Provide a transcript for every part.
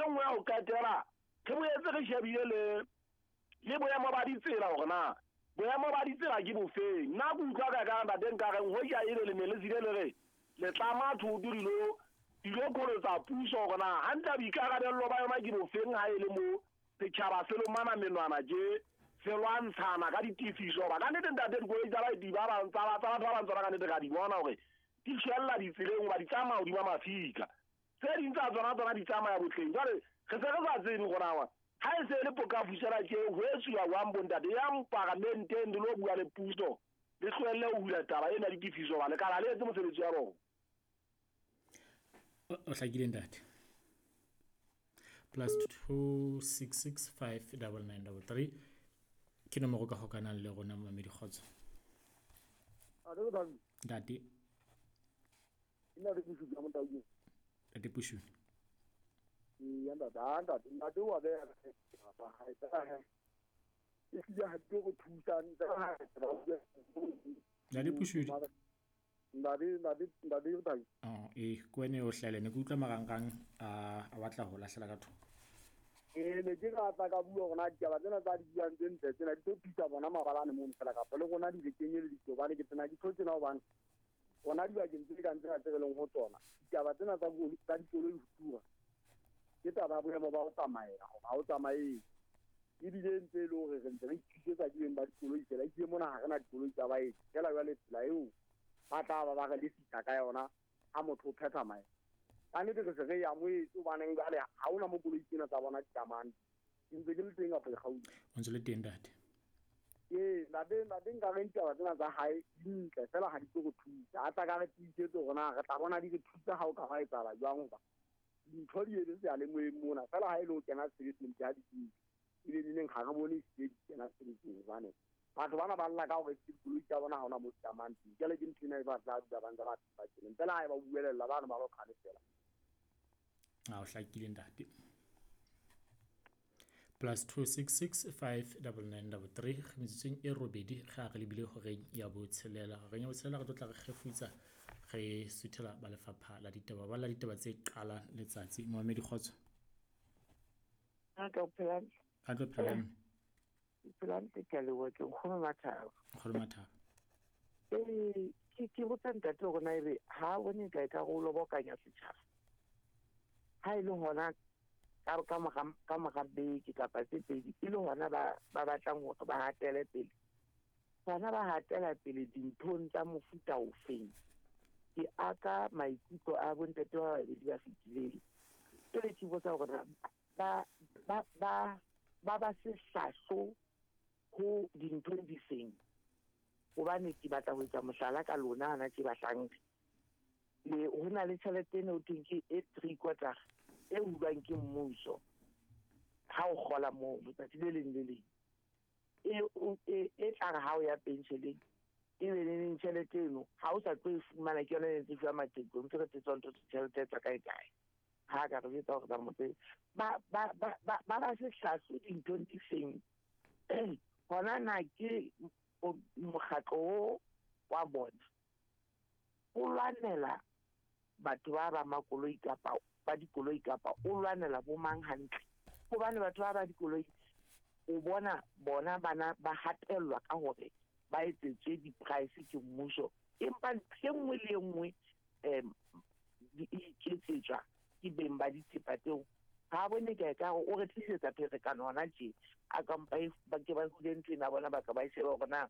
nngwe ya ho qetela, re boetse re shebile le le boemo ba ditsela hore na boemo ba ditsela ke bofeng. Nna ke utlwa ka ka ntate nka reng hoja ebe le ne le tsile le re le tlama thoto dilo dilo kolotsa puso hore na hantle boikarabello ba yona ke bofeng ha e le mo setjhaba se lomana menwana tje se lwantshana ka ditefiso. Hoba ka nnete ntate dikoloi tsa baeti ba bang tsa batho ba bang tsona ka nnete ra di bona hore di tjhella ditseleng hoba di tsamaya hodima mafika. Tse ding tsa tsona tsona di tsamaya botleng. Jwale re se re sa tsebe hore na ha e se e le pokafusela tje ho etsuwa jwang bontate. Yang paramenteng le lo bua le puso, le tlohelle ho hula taba ena ya ditefiso hoba lekala le etse mosebetsi wa bona. O hlakile ntate. +266 5 99 33 ke nomoro ka hokanang le rona momamedi kgotso. Ntate. Ntate Pushuni. Eya ntate, ha ntate, ntate wa beha ba hae. E hlile ha di tlo re thusa Ntate Pushuni. Ntate, ntate, ntate Thabi. Oh, eh, ke wena o hlahile ne ke utlwa marangrang a a batla ho lahlela ka thoko. Ee, ne ke rata ka bua hore na ditaba tsena tsa di buang tse ntle tsena di tlo thusa bona mabalane mono fela kapa le rona di re kenyeleditse hobane ke tsena di tlo tsena hobane rona dibakeng tse kang tsena tse re leng ho tsona ditaba tsena tsa tsa dikoloi ho tura ke taba ya boemo ba ho tsamaea hore ha o tsamaee ebile ntse e le hore re ntse re ithusetsa ke beng ba dikoloi fela ebile mona ha re na dikoloi tsa baeti fela jwale tsela eo ba tla ba ba re lefisa ka yona ha motho o phetha maeto ka nnete re se re e amohetse hobaneng jwale ha hona mo koloi tsena tsa bona di tsamayang ke ntse ke le teng kapa ke kgaohile. O ntse le teng ntate. Ee, ntate, ntate nka re ditaba tsena tsa hae di ntle fela ha di tlo re thusa. A tla ka re tiisetse hore na re tla bona di re thusa ha o ka hwa etsahala jwang hoba dintho di etse seyalemoyeng mona fela ha e le ho kena tshebetsong ke ha di kentswe. Ebe neneng ha re bone ehlile di kena tshebetsong hobane batho bana ba lla ka hore dikoloi tsa bona ha hona mo di tsamayang teng. Jwale ke ntho ena e ba tla dula ba ntse ba ba tseleng. Fela ha e ba buelella bano ba lo kgalefela. A o hlakile ntate. +266 599 33 metsotsong e robedi ge a re lebile horeng ya botshelela. Horeng ya botshelela re tlo tla re kgefutsa re suthela ba lefapha la ditaba ba la ditaba tse qalang letsatsi. Momamedi kgotso. A tlo phela. A tlo phela mme. Phela ntse ke a leboha ke nkgono Mathabo. Nkgono Mathabo. Ee, ke botsa ntate hore na ebe ha bone ka e ka re o lobokanya setjhaba. Ha e le hona ka mora beke kapa tse pedi e le hona ba ba batlang hore ba hatele pele. Hona ba hatela pele dinthong tsa mofuta ofeng. Ke aka maikutlo a bontate ba babedi ba fetileng. Jwale ke botsa hore na ba ba ba ba ba sehlahlo ho dinthong di feng. Hobane ke batla ho etsa mohlala ka lona hana tje bahlanka. Le ho na le tjhelete eno ho thweng ke e three quarter e hulwang ke mmuso ha o kgola moo letsatsi le leng le leng. E e tla re ha o ya pension-eng e be neneng tjhelete eno ha o sa tlo e fumana ke yona e ntse fuwa maqheku ntse re tswa ntho tjhelete tsa kae kae. Ha ka re jwetsa hore ba motse ba ba ba ba ba ba sehlahlo dinthong di feng. Hona na ke mokgatlo o wa bona o lwanela batho ba ba makoloi kapa ba dikoloi kapa o lwanela bo mang hantle. Hobane batho ba ba dikoloi o bona bona bana ba hatellwa ka hore ba etsetswe di-price ke mmuso. Empa ntho e nngwe le e nngwe di iketsetswa ke beng ba dithepa tseo. Ha bone ka ka o re tlisetsa pherekano hona tje. A kampa e ba ke ba hule ntho ena bona ba ka ba e sheba hore na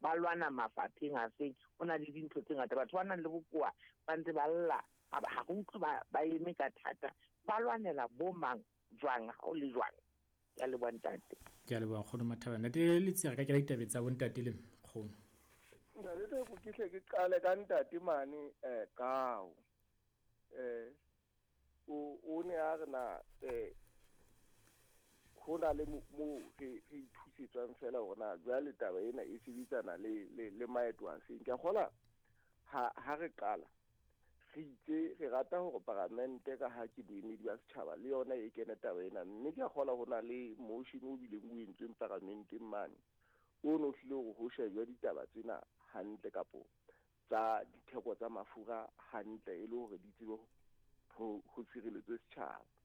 ba lwana mafapheng a feng. Ho na le dintho tse ngata batho ba nang le bokowa ba ntse ba lla ha re utlwe ba eme ka thata. Ba lwanela bo mang jwang ha o le jwang. Ke a leboha ntate. Ke a leboha nkgono Mathaba. Ntate Letsie re ka kena ditabeng tsa bontate le nkgono. Ntate Teko ke hle ke qale ka ntate mane Kao. O ne a re na ho na le mo re ithusetswang fela hore na jwale taba ena e sebetsana le le le maeto a feng. Ke a kgola ha re qala re itse re rata hore paramente ka ha ke boemedi ba setjhaba le yona e kene taba ena mme ke a kgola ho na le motion o bileng o entsweng paramenteng mane o no hlile hore ho shejwe ditaba tsena hantle kapo tsa ditheko tsa mafura hantle e le hore di tsebe ho sireletswe setjhaba.